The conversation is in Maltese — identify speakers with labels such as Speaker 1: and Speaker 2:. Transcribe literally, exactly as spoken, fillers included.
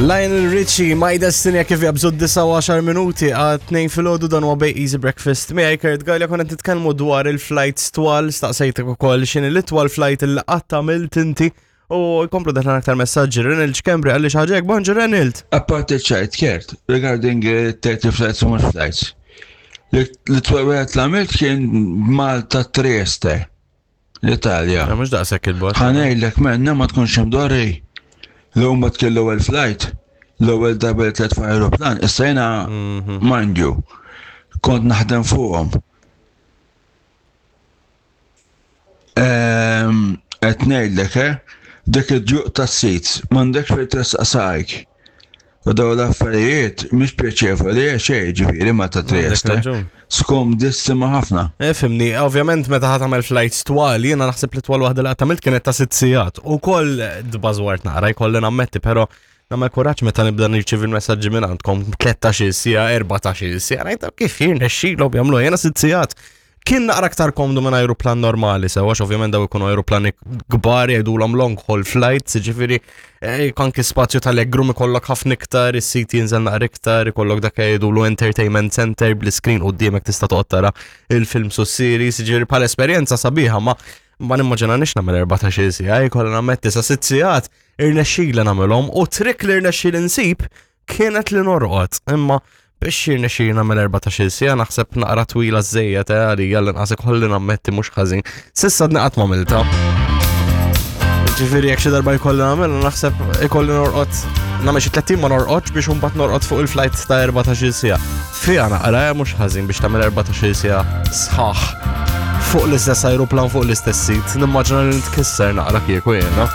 Speaker 1: Lionel Richie, My Destiny, kif jabżu d-disgħa u għaxar minuti għal tnejn filgħodu, dan huwa Bej Easy Breakfast. Miegħi Kurt Galea, konna titkellmu dwar il-flights twal, staqsejtek ukoll x'inhi l-itwal flight il qatt għamilt inti u jkomplu daħlan aktar messaġġi. Renald Schembri għalli xi ħaġa hekk, bonġu Renald.
Speaker 2: Apparti ċajt, Kurt, regarding uh, thirty flights u mhux flights. L-itwal wieħed li għamilt kien Malta Trieste, l-Italja.
Speaker 1: Mhux daqshekk il-bogħod.
Speaker 2: Ħa ngħidlek menna ma tkunx imdorri. L-huma tkun l-ewwel flight, l-ewwel darba li tlajt fuq aeroplan, issa jiena, mind you, kont naħdem fuqhom. Ehm, Qed ngħidlek, eh, dik id-djuq tas-seats, m'għandekx fejn tressaq saqajk. U daw l-affarijiet mhix pjaċevoli xejn, ġifieri ma ta' Trieste.
Speaker 1: Raġun.
Speaker 2: Skomdissima ħafna.
Speaker 1: Eh, Fimni, ovvjament meta ħa tagħmel flights twal, jiena naħseb li twal waħda li qatt għamilt kienet ta' sitt sigħat. U koll dbażwart naqra, jkolli nammetti, però nagħmel kuraġġ meta nibda nirċievi l-messaġġi minn għandkom tlettax-il siegħa, erbatax-il siegħa, ngħid kif jirnexxilhom jagħmlu, jiena sitt sigħat. Kien naqra aktar komdu minn aeroplan normali, sewa għax ovvjament daw ikunu aeroplani kbar, jgħidulhom long haul flights, ġifieri eh, anki spazju tal-legroom ikollok ħafna iktar, is-seat jinżel naqra iktar, ikollok dak jgħidulu entertainment center bl-screen quddiemek, tista' toqgħod tara il-film su series, ġifieri bħala esperjenza sabiħa, ma ma nimmaġinanix nagħmel erbatax-il siegħa, jkolli nammetti sa sitt sigħat irnexxieli nagħmelhom u trick li rnexxieli nsib kienet li norqod, imma biex jirnexxieli nagħmel erbatax-il siegħa naħseb naqra twila żejjed eh, għalija l-inqas, ikolli nammetti, mhux ħażin. S'issa għadni qatt m'għamiltha. Ġifieri jekk xi darba jkolli nagħmel, naħseb ikolli norqod, nagħmel xi tletin ma norqodx biex imbagħad norqod fuq il-flight ta' erbatax-il siegħa. Fiha naqra eh, mhux ħażin biex tagħmel erbatax-il siegħa sħaħ fuq l-istess aeroplan, fuq l-istess seat. Nimmaġina li nitkisser naqra kieku jiena.